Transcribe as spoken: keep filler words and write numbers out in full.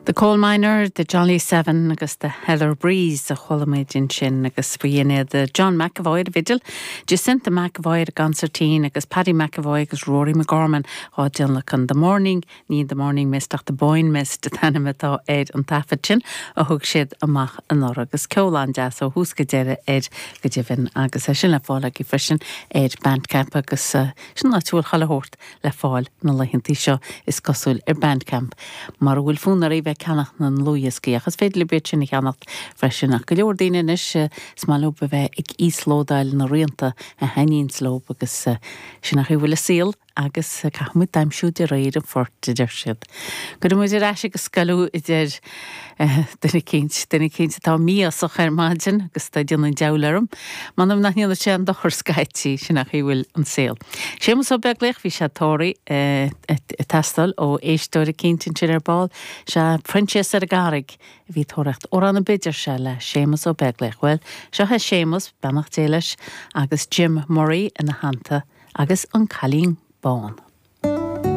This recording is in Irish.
The Coal Miner, The Jolly Seven agus The Heather Breeze a chuala muid ansin agus b'in iad John McAvoy ar an bhfidil, Jacinta McAvoy ar an gconsairtín agus Paddy McAvoy agus Rory McGorman á dtionlacan The Morning, ní The Morning Mist ach The Boyne Mist an t-ainm atá ar an taifead sin a thug siad amach anuraidh agus ceol an-deas ó thús go deireadh air go deimhin agus é sin le fáil agaibh freisin ar Bandcamp agus uh, sin áit a bhfuil chuile shórt le fáil na laethanta seo is cosúil ar Bandcamp mar bhfuil fonn oraibh bheith ag ceannach na ndlúthdhioscaí ach is féidir libh iad sin a cheannacht freisin ach go leor daoine anois is maith leo a bheith ag íoslódáil na rianta a thaitníonn leo agus sin an chaoi a bhfuil an saol agus caithfimid aimsiú de réir an phoirt a deir siad. Gabhfaidh muid ar ais agus scaoileadh idir duine eicínt duine eicínt atá mífhoighneach ar maidin agus tá déanamh an diabhail orm, M'anam nach ndéanann sé aon dochar scaití sin an chaoi a bhfuil an saol. Séamus Ó Beaglaoich bhí sé tóraí ag teastáil ó éisteoir eicínt ansin ar ball, sé Proinsias ar an gCarraig a bhí tóraíocht amhrán ar bith sé le Séamus Ó Beaglaoich. Well, seo é Séamus beannacht Dé leis agus Jim Murray ina theannta agus an Cailín Bán.